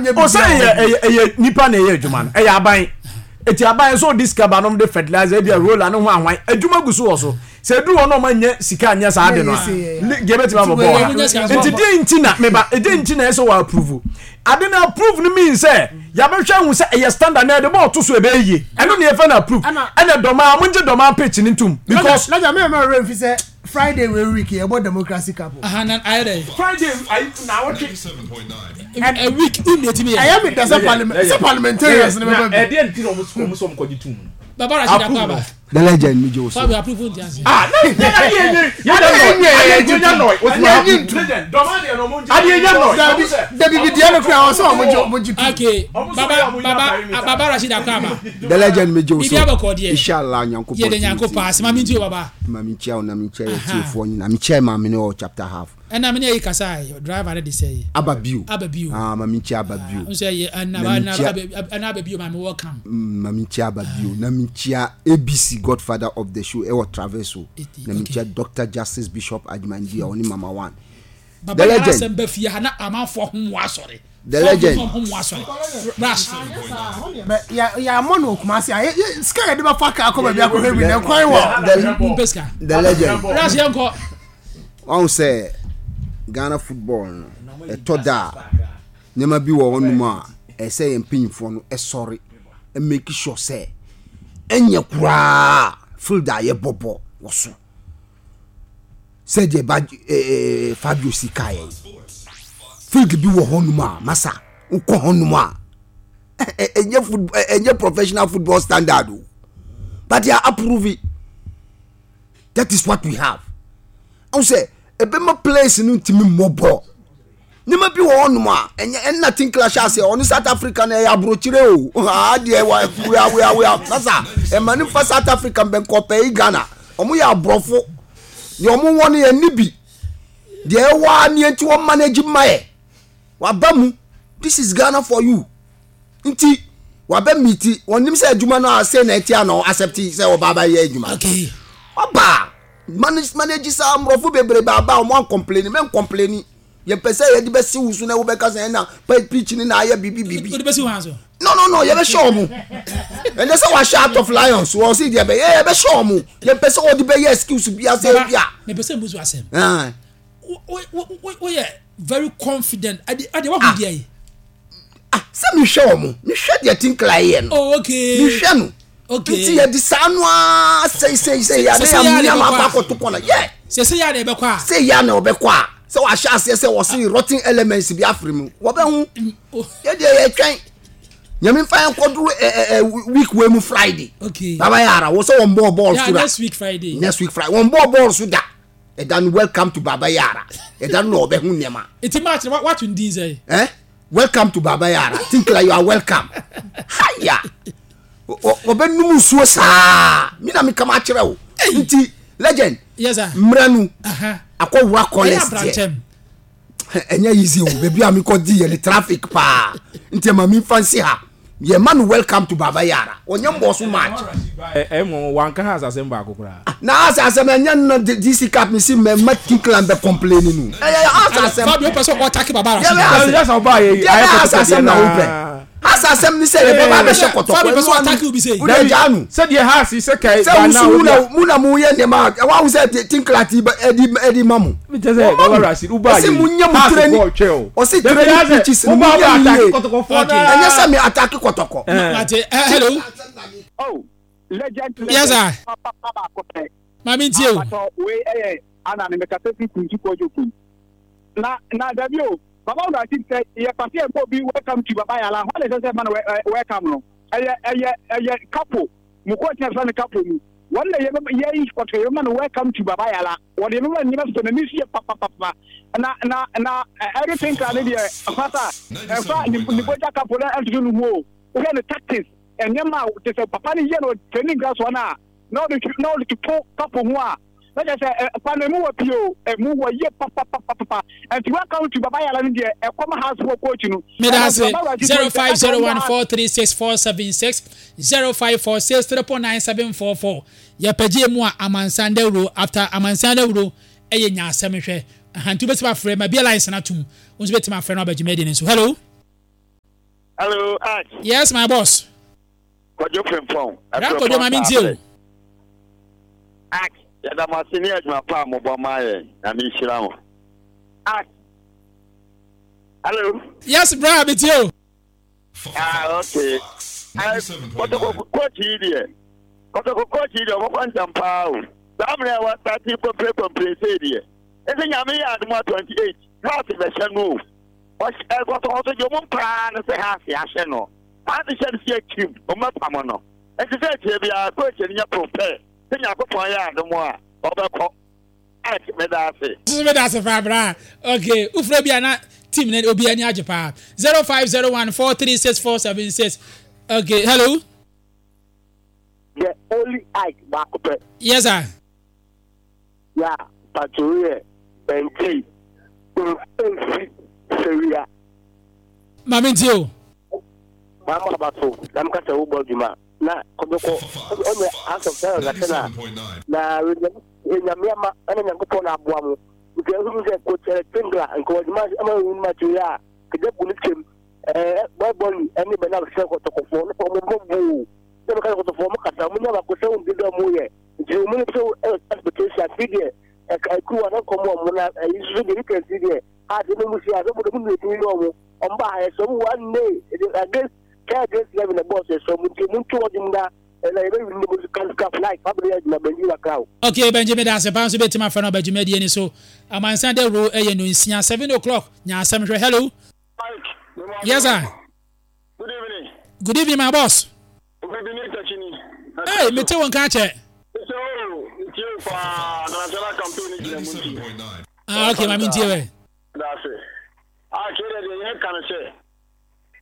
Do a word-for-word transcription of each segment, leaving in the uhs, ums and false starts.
Ɔmo nyɛ O sɛ biribiara. ɛyɛ ɛyɛ ɛyɛ nipa na ɛyɛ adwuma no, ɛyɛ aban eti aban nso ɔde sika ba nom de fertilizer ebi a roller ne ho ahwan adwuma gu so wɔ so sɛ edu hɔ na ɔmo nyɛ sika nyɛ saa de no a league ebetumi abɔ bɔɔl ha. Nti deɛ nti na meba, deɛ nti na ɛsɛ wɔ approve ade na approve no mean sɛ yabɛhwɛ ahu sɛ ɛyɛ standard na yɛde bɔɔl to so ɛbɛyɛ yie. Ɛno ne yɛfɛ no approve. Ɛna Dɔmaa mo ngye Dɔmaa pitch ne ntum because Lagya, mi ma rɛ nfi sɛ Friday wey week yɛ bɔ Democracy Cup o. Aha na ayɛ dɛ. Friday ayi na awɔtwe. A week n de ti mi yɛ. Ɛyɛ mi dɛ sɛ parliament sɛ parliamentarians ni bɛ bɛ bi. Ɛdeɛ nti na ɔmo ɔmo sɛ ɔmo kɔgye tum no. Baba Rasheed, akɔ aba. The legend, mi jẹ o so. Fabio, approve n ti ase. Ah, na adeɛ nye yɛ nɔ adeɛ nya nɔ o ti ma Legend, Dɔmaa deɛ no ɔmo ngye. Adeɛ nya nɔ. Dabi dabi, bi diɛ no kura ɔsɛ ɔmo gye ɔmo gye tu. Okay, baba baba baba Rasheed, akɔ aba. The legend, mi jẹ o so. Biribi abɔkɔ deɛ. Inshallah, Nyankopɔn. Yɛ de Nyanko paa asɛm ami nti o baba. Maame nkyia o, na mi nkyia yɛ tiefoɔ nyina, mi kyia maame ne wɔ chapter half. Ɛna mi ne yɛ kasa yi, driver ne de sɛ yi. Aba bio. Aba bio. Ah, maame nkyia aba bio. Nso yɛ ɛna Na mi ɛna nkyia- aba ɛna aba bio, maame, welcome. Mm, maame nkyia aba bio, na mi nkyia A B C, godfather of the show, ɛwɔ Traverso. Eti, Na mi okay. nkyia Doctor Justice Bishop Adwumandi a ɔne Mama One. Baba The yàrá legend. asɛm bɛ fie ha na amanfoɔ ho mu asɔre. The legend. Ho mu asɔre rush. Bɛ yà yà mɔ no Kumasi a yɛ yɛ sika yɛ de bɛ fa kaa kɔ baabi akɔhwɛ bi na kwan wɔ. The, Mpɛ sika. The legend. Rush, yɛn kɔ. Ɔn sɛ Ghana football no, ɛtɔ da a nneɛma bi wɔ hɔnom a ɛsɛ yɛn mpanyinfoɔ no ɛsɔre make sure sɛ ɛnyɛ koraa field a yɛbɔ bɔ wɔ so sɛdeɛ ba ɛɛ Fabio si kaa yɛn field bi wɔ hɔnom a masa wokɔ hɔnom a ɛ- ɛnyɛ football, ɛnyɛ professional football standard o, but they are approving. That is what we have. Ɔn sɛ ɛbɛma players no ntumi mmɔ bɔɔl. Nneɛma bi wɔ hɔnom a ɛnyɛ ɛnna Tinkler hyɛ aseɛ ɔne South Africa na ɛyɛ aburokyire o. Aa deɛ wa wia wia wia nasa ɛma ne fa South Africa mbɛnkɔpɛ yi Ghana, ɔmo yɛ aborɔfo deɛ ɔmo wɔ no yɛ ni bi deɛ ɛwɔ a neɛ nti wɔn manage ma yɛ waba mu. This is Ghana for you. Nti wabɛ miti wɔnim sɛ adwuma no a sɛ na ɛte a na accept sɛ ɔba abɛyɛ adwuma. Okay. Waba manage manage saa mmorɔfo bebree baaba a ɔmo ancomplaini mɛ ncomplaini. Yɛpɛ sɛ yɛde bɛsi wo so na wobɛka sɛ ɛna pitch ni na ayɛ biribi biribi. O de bɛ si wɔn so. no no no yɛbɛhyɛ ɔmo. Ɛnɛ sɛ wahyɛ Heart of Lions wɔ si deɛ bɛyɛ, yɛbɛhyɛ ɔmo. Yɛpɛ sɛ wɔde bɛyɛ excuse bi asɛ Baba, bi a. mepɛ sɛ mbusu asɛm. Ah. Wo wo wo woyɛ very confident ade ade wahu deɛ yi. Ah, sɛ mehwɛ ɔmo, mehwɛ deɛ Tinkler yɛ no. Oh, okay. Mehwɛ no. Okay. Nti yɛde saa no ara sɛi sɛi sɛi yɛ Sɛ- sɛ yɛ a ade na yɛ ɛbɛkɔ ama a. akɔto kɔnɔ yɛ. Sɛ sɛ yɛ a na ɛbɛkɔ a. Sɛ yɛ na ɔbɛkɔ a sɛ wahyɛ aseɛ sɛ wɔse rotten elements bi afiri mu, wɔbɛho. Oh, yɛdeɛ yɛtwɛn Nyame mfa yɛn kɔduru ɛ ɛ ɛ week wei mu Friday. Okay. Baba Yara wɔ sɛ wɔn bɔɔ bɔɔl Yeah, so da. next week Friday. Next week Friday wɔn bɔɔ bɔɔl so da. Ɛda no, welcome to Baba Yara, ɛda no na ɔbɛho nneɛma. Eti match no wato ndin sɛ. Eh, welcome to Baba Yara, Tinkler, you are welcome. Haya, ɔbɛnum nsuo saa mi na mi kama akyerɛ o. Nti legend, Yes sir. mmerɛ no Aha. akɔwura Ɛyɛ college deɛ. Abrankyɛm. Ɛnyɛ easy o, baabi a mi kɔ di yɛ ni traffic paa, nti ɛma mi nfa nsi ha. Yɛ ma no welcome to Baba Yara, ɔnyɛ mbɔ so match. Ɛ ɛ mo wanka ha asasɛm baako koraa. Na asa asɛm ɛnyɛ no D C Cup mi si mɛ mɛ Tinkler bɛ complain no, ɛyɛ asa asɛm. Fabio pɛ sɛ ɔtake Baba Yɛ bɛ Rasheed. asa. Yɛ sɛ ɔbaa yɛ Yɛ ayɛ bɛ asa kɔtɔkɔ asɛm deɛ na wopɛ naa. asa asɛm ni sɛ yɛ bɛ ba bɛhyɛ kɔtɔkɔ. Fabio pɛ sɛ ɔtake obi sɛ. Wode gyaa no. Sɛdeɛ ha si sɛ kae. Sɛ wusu mu na mu na mu yɛ nneɛma a ɛwɔ ahu sɛ Tinkler ti bɛ- ɛdi ɛdi ma mo. Kyɛ sɛ Baba Rasheed wobaa Ɔsi mu nye mu training, ɔsi training pitches no mu nye mu yie. Ɛnyɛ sɛ mi attack Kɔtɔkɔ. Mate, eh, hello. Oh, legend, legend. Yes, sir. Papa baako pɛ. Maame ntie o. Apatɔ wei ɛyɛ ana ne mekasa fi Kuntu Kɔdwo kun. Na na dabi o, Baba Rasheed, sɛ yɛ pase yɛ bɔ bi welcome to Baba Yala, hɔn na ɛsɛ sɛ ma no welcome no. Ɛyɛ ɛyɛ ɛyɛ kapo. Mu coach na fɛ no kapo mu. Wɔn na yɛ yɛ yi kɔtɔ yɛ ma no welcome to Baba Yala. Wɔde yɛ ma nneɛma sɔ n'ani so yɛ papapapa. Na na na ɛre Tinkler ne deɛ fasa ɛfa ne ne bɔgya kapo na ɛntoto ne ho o. Wohwɛ ne tactics, nneɛma a te sɛ papa no yɛ no training ground so na na ɔde na ɔde toto kapo ho a na kyerɛ sɛ ɛ pa no emu wɔ pii o, emu wɔ yie papapapapa. Nti welcome to Baba Yala no deɛ ɛkɔm house for coach no. Meda ase. Zero five zero one four three six four seven six zero five four six triple nine seven four four. Yɛpɛgye mu a amansan dawuro after amansan dawuro ɛyɛ nya asɛm hwɛ ahantu bɛtumi afrɛ ma bia lines na tum wo nso bɛtumi afrɛ no aba dwumadi no nso. Hello. Hello, Ash. Yes, my boss. Kwadwo Frimpong. Bra Kwadwo ma mentie o. Ash, yɛda mo ase ne adwuma pa a mobɔ ma yɛn. Nyame nhyira mo. Ash. Hello. Yes, bra metie o. Ah, okay. Kɔtɔkɔ coach yi deɛ, kɔtɔkɔ coach yi deɛ ɔbɛkɔ ntɛm paa o. Saa mmerɛ a wasate kɔmpire kɔmpire sei deɛ, ɛsɛ Nyame yɛ adom a twenty eight, Hearts bɛhyɛ no o. Kɔtɔkɔ so deɛ ɔmo paa no sɛ Hearts ahyɛ no. Hearts hyɛ no si akyim, ɔmo bɛpam no. Ɛnti sɛ akyire biara coach no nyɛ prepare sɛ Nyankopɔn yɛ adom a ɔbɛkɔ. Meda ase. Meda ase paa bra. Okay, ufre bi ana team na obi ani agye paa. zero five zero one four three six four seven six. Okay, hello. The only Ike baako. Yes sir. Yeah, Patrick Benti. Seria. Mami ntio. Mama bato, na mka se wo bodwuma. Na kobeko onye house of terror na na Nyamiama ana Nyankopɔn na aboa mo. Nti ehu sɛ coach Tengla nka wadwuma ama wu ma to ya kede bu ne twem eh boy boy ene be na sɛ kɔtɔkɔfo no mo mo bu. Sɛ mo ka kɔtɔkɔfo mo kasa mo nya ba ko sɛ wo de mo yɛ. Nti mo ne so expectation fi de e ka ku wa na kɔmɔ mo na yisu de weekend fi de ha de mo si a mo de mo ne ti no mo. Omba ha so mo one day against K against eleven the boss so mo ti mo to odum da. Okay, Benjamin, that's a bounce bit to my friend Benjamin. So, I'm on Sunday row a seven o'clock. Hello. Yes, sir. Good evening. Good evening, my boss. Hey, me too, one catch it. Ah, okay, my mean, That's it. I can't say.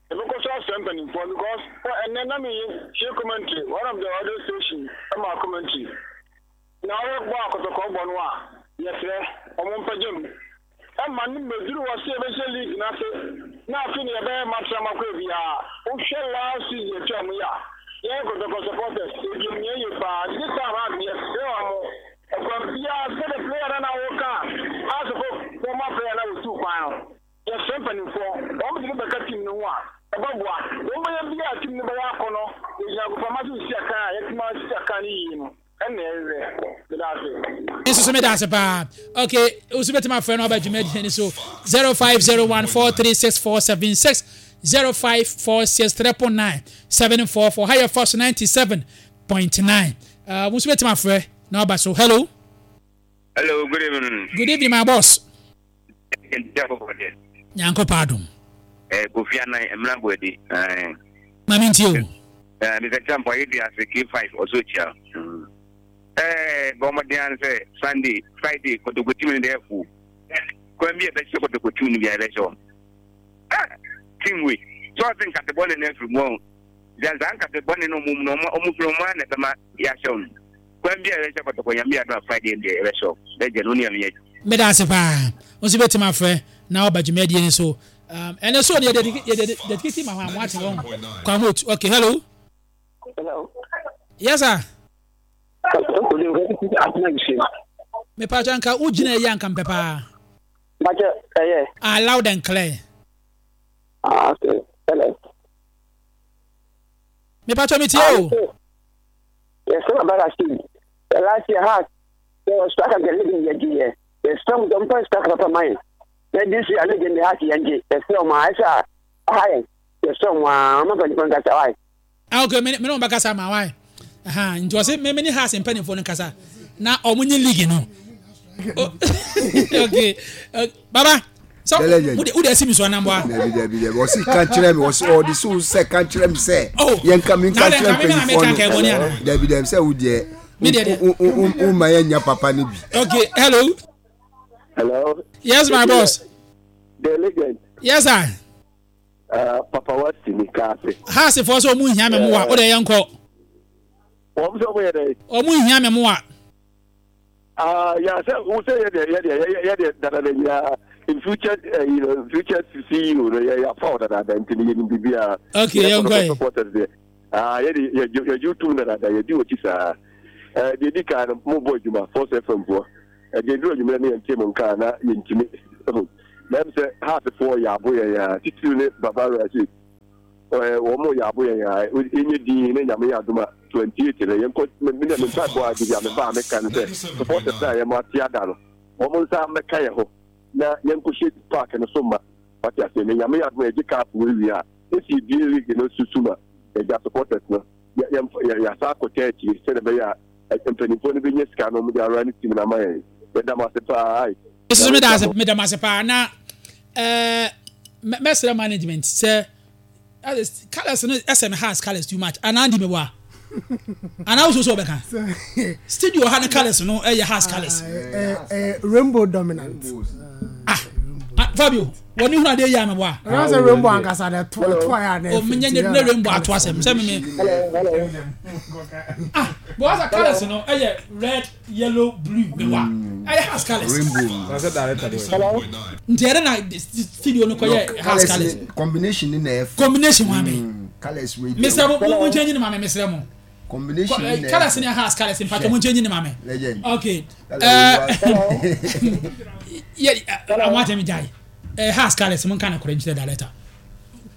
Because because and then I mean she commentary one of the other stations my commentary. Now we walk to Kobonwa. Yes, sir. I'm on Pajim. And man was a league nothing. Nothing about Matramacovia. Who shall last season tell me? Yeah, because the supporters, if you near you pass this time out, yes, from the player and our car. As a former player, I was too final. Yes, company for one of the team no one. Above what? One may be a team number one. This is me that's about okay. Usubeti my friend about Jumedi so zero five zero one four three six four seven six zero five four six triple nine seven four four. Higher force ninety seven point nine. Uh, Usubeti my friend now. So hello. Hello. Good evening. Good evening, my boss. Nyanko pardon. Eh, Kofi Annan Emra Bwedi. Eh. Mami ntio. Eh, Mister Champo you as K five also chia. Eh, bomadian say Sunday, Friday kotoko team ni there fu. Kwa mi e be kotoko team ni bi e so. Ah, team we. So I think at the bone na fru mo. Janza nka the bone no mum no omu fru mo na be ma ya so. Kwa mi e be kotoko ya mi adu Friday dey e so. Be je no ni am ye. Me da se pa. Onsi betima frɛ na oba dwumadie ni so. Um and so the the dedicated ma ho ati won. Kwa hote. Okay, hello. Hello. Yes sir. Me pa janka ugina ye anka mpepa. Maje eh Ah, loud and clear. Ah, okay. Hello. Me pa cho me tie o. Yes, sir, about that. The last year has the strike the living year. The strong don't strike up mine. Then this year I in the house and the strong my high. The strong one, I'm not going to get Ah, okay, me me no bakasa ma why. Aha, nti ose me me has mpani fo no kasa. Na omunye league no. Okay. Uh, baba. So who dey see me so na mboa? Debi debi debi. Osi kan kire me, osi o di so se kan kire me se. Yen kan me kan kire me fo no. Debi debi se wo de. O ma yen nya papa ni bi. Okay, hello. Hello. Yes, my boss. The legend. Yes, sir. Uh, Papa was in the cafe. Ha se for so mu hia me mo wa. O de yen ko. O mo so mo ye de. O mu hia me mo wa. Ah, yeah, so we say yeah yeah yeah yeah that yeah in future uh, you know future C E O no yeah yeah for that that ntini ye bibia. Okay, yen ko. Ah, yeah yeah yeah you two na that you do what is ah eh de di ka mo boy juma Force F M for. E de do juma na yen mo nka na yen ntimi. Na m say half four ya boy ya titiri ne Baba Rashid. Wɔn yɛ abo yɛn a yɛnyɛ din ne Nyame yɛ adom a twenty eight no yɛnkɔ. Me ne me mpaebɔ a de bi a meba a meka no sɛ supporters a yɛn ate ada no, wɔn nsa mmɛka yɛn ho na yɛnkɔhyɛ park no so ma wate ase. Ne Nyame yɛ adom a yɛgye cup wɔ wie a, esi ebie league no susu ma yɛgya supporters no, yɛasa akɔtɛ akyire sɛdeɛ ɛbɛyɛ a mpanimfoɔ no bɛnya sika no wɔde awura ne team no ama yɛn. Yɛda mo ase paa. Nso meda ase, meda mo ase paa. Na ɛɛ mɛsrɛ management sɛ colours no ɛsɛ me house colours too much anaa ndi mi wa anaa wososo sɛ ɔbɛka studio ha ne colours no ɛyɛ house colours. Rainbow dominant. Ah, Fabio, wɔn ni hunu adeɛ yi a mɛ bɔ a. Ɛnna sɛ rainbow ankasa de to to ayɛ anɛ. O mi nye ne rainbow ato asɛm sɛ mi mi. Ah, bɔn asa colours no ɛyɛ red, yellow, blue mɛ wa ɛyɛ house colours. Rainbow. Nti ɛdɛ na studio no kɔ yɛ house colours. Combination ni na ɛfɛ. Combination wa mi. Colours wey. Mesrɛ mo, mo nkyɛn nyini ma mi, mesrɛ mo. Combination ni na colours ni house colours mpatwa mo nkyɛn nyini ma mi. Legend. Okay. Ɛɛ yɛ àwọn atɛmi gya yi ɛɛ house colours mo nka na kɔrɔ nkyerɛ director.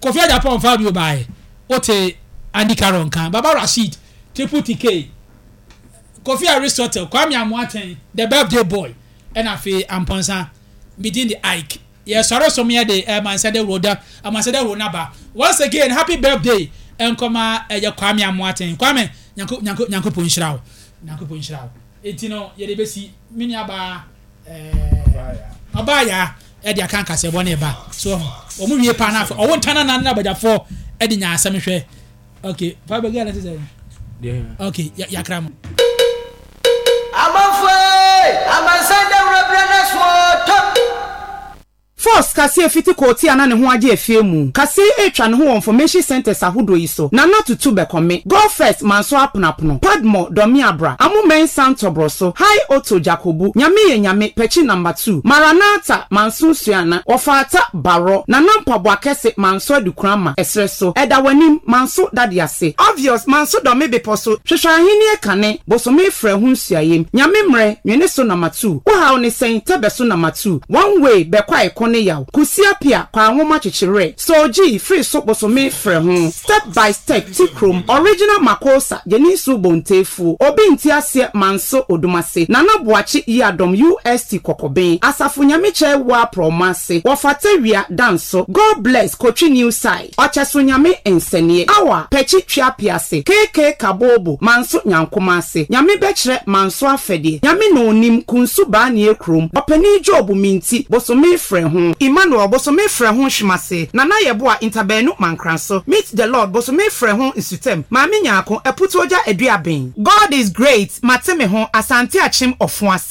Kofi Agyapong Fabio baayi o te Andy Carroll nkan Baba Rasheed, Triple T K, Kofi Aristotle, Kwame Amoaten, the birthday boy, ɛna afei Amponsa midin de Ike yɛsɔre som yɛ de ɛmansɛ de roda amansɛ de ro naba. Once again, happy birthday nkɔma ɛyɛ Kwame Amoaten. Kwame, nyanko nyanko Nyankopɔn nhyira wo, Nyankopɔn nhyira wo. Eti no yɛde bɛsi me nua baa ɛɛ ɔbaa yaa ɛde aka nkasɛbɔ ne ba so wɔn wie paa n'afɛ ɔwɔ ntana nan na abagyafoɔ ɛde nya asɛm hwɛ. Okay, fa bɛ gɛlɛ sisan. Okay, yakra mo. Amanfoɔ, amansan dawuro berɛ no so. Force kaseɛ fiti kɔɔti a na ne ho agye efie mu kaseɛ etwa ne ho wɔ information centers ahodoɔ yi so: Nana Tutu Bɛkɔme, Go First Manso, Aponapono Padmo, Dɔmi Abra, Amumensa, Ntɔborɔ so, High Otto, Jakobu, Nyame Yɛ Nyame, Pɛkyi Number two, Maranatha Manso, Suana, Wɔfaata Barɔ, Nana Mpaboa Kɛse Manso, Adukurama, ɛserɛ so, Ɛda W'anim Manso, Dade Ase, Obvious Manso, Dɔme Bepɔ so, Hwehwɛ Ahenni Kane, Bosome Frɛ Ho, Nsuayem, Nyame Mmerɛ, Nwene So Number two, Wohaw Ne Sɛn, Tɛbɛ So Number two, One Way, Bɛkɔ Ɛko Ne Yaw, Kusia Pia, Kwa Nwoma Kyekyerɛ, Soogyi Firi So, Bosome Frɛ Ho, Step by Step, Ti Kurom, Original Makosa, Yɛni Bontefuo, Obi Nti Aseɛ Manso, Odumase, Nana Boakye Yiadɔm, U S T Kɔkɔben, Asafo Nyame Kyɛ Wa Prɔmo Ase, Wɔfata Wia Danso, God Bless, Kotwi New Side, Ɔkyɛso Nyame Nsɛneɛ, Awa, Pɛkyi Twiapiase, K K Kabobo, Manso Nyankoma Ase, Nyame Bɛkyerɛ Manso Afɛdeɛ, Nyame Na Onim, Kunsu Baanie Kurom, Ɔpanin Job Minti, Bosome Frɛ Ho, Emmanuel, Bosome Frɛ Ho, Hwemase, Nana Yɛboa, Ntabaanu Mankranso, Meet the Lord, Bosome Frɛ Ho, Nsutam, Maame Nyaako, Aputuogya Aduaben, God is Great, Mate Me Ho, Asante Akyem Ɔfo Ase.